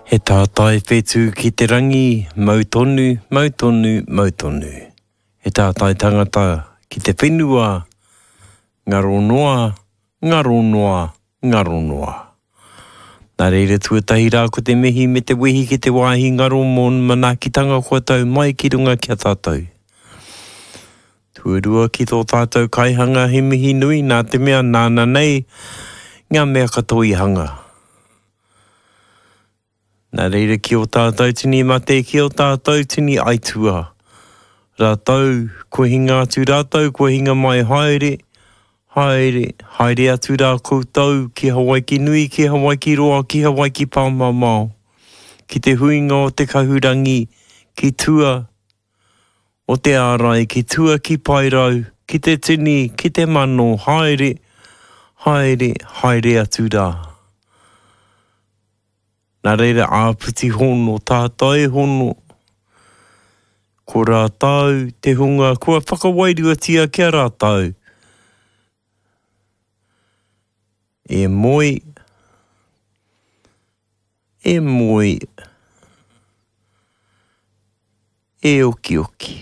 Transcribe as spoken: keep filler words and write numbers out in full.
He tātai whetū ki te rangi, mau tonu, mau tonu, mau tonu. He tātai tangata ki te whenua, ngaro noa, ngaro noa, ngaro noa. Nā reira tuatahi rā ko te mihi me te wehi ki te wāhi ngaro mō manaakitanga kua tau mai ki runga ki a tātou. Tuarua ki tō tātou kaihanga he mihi nui nā te mea nāna nei ngā mea katoa i hanga. Nā reira ki o tātou tini mate, ki o tātou tini aitua. Rātou, kua hinga atu rātou, kua hinga mai haere, haere, haere atu rā koutou ki Hawaiki nui, ki Hawaiki roa, ki Hawaiki pāmamao. Ki te huinga o te kahurangi, ki tua o te ārai, ki tua ki Paerau, ki te tini, ki te mano, haere, haere, haere atu rā. Nā reira āpiti hono, tātai hono, ko rātou te hunga kua whakawairuatia ki a rātou. E moe, e moe, e okioki.